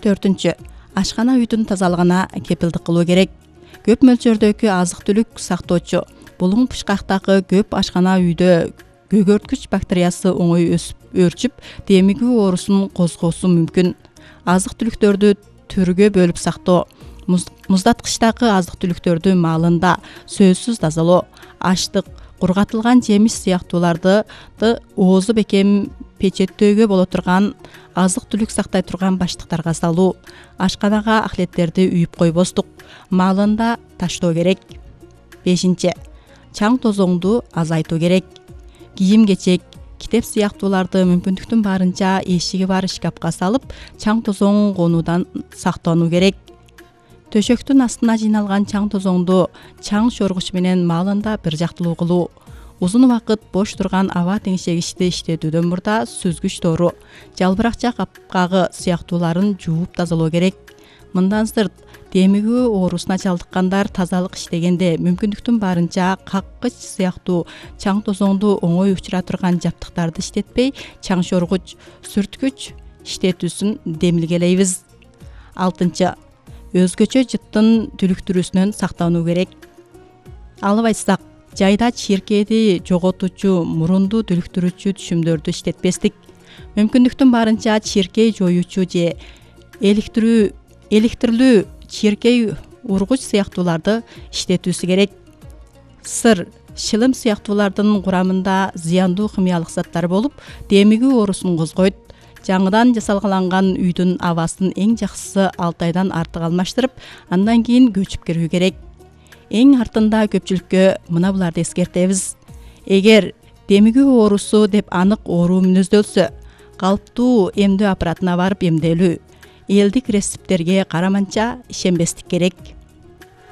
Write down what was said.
4. Ашкана үйдүн тазалыгына кепилдик кылуу керек. Көп мөлчөрдөгү азык-түлүк сактоочу булуң пышкактагы көп ашкана үйдө көгөрткүч бактериясы оңой өсүп өөрчүп, демигүү оорусун козгоосу мүмкүн. Азык-түлүктөрдү түргө бөлүп сактоо, муздаткычтагы азык-түлүктөрдү маалында сөзсүз тазалоо, аштык, кургатылган жемиш сыяктууларды оозу бекем печеттөөгө боло турган азык-түлүк сактай турган баштыктарга салуу, ашканага ахлеттерди үйүп койбостук, маалында таштоо керек. 5. Чаң тозоңду азайтуу керек. Кийим-кечек, китеп сыяктууларды мүмкүндүктүн барынча эшиги бар шкафка салып, чаң тозоң конуудан сактануу керек. Төшөктүн астына жыйналган чаң тозоңду чаң чоргуч менен маалында бир жактылуу кылуу. Узун убакыт бош турган аба теңшегичти иштетүүдөн мурда сүзгүч тоору, жалбыракча капкагы сыяктууларын жууп тазалоо керек. Мындан сырт, демигүү оорусуна чалдыккандар тазалык иштегенде мүмкүндүктүн барынча каккыч сыяктуу чаң тозоңду оңой учура турган жабдыктарды иштетпей, чаң чоргуч, сүрткүч иштетүүсүн демилгелейбиз. 6. Өзгөчө жыттын түлүктүрүүсүнөн сактануу керек. Албайсак, жайда чиркээди жоготуучу, мурунду түлүктүрүүчү түшүмдөрдү иштетпестик. Мүмкүндүктүн барынча чиркей жоюучу же электрлүү чиркей ургуч сыяктууларды иштетүүсү керек. Сыр, шылым сыяктуулардын курамында зыяндуу химиялык заттар болуп, демигүү оорусун козгойт. Жаңыдан жасалган үйдүн абасын эң жакшысы 6 айдан артык алмаштырып, андан кийин көчүп кирүү керек. Эң артында көпчүлүккө мына буларды эскертебиз. Эгер демигүү оорусу деп анык оору мүнөздөлсө, калыптуу эмдөө аппаратына барып эмделүү, элдик рецепттерге караманча ишенбестик керек.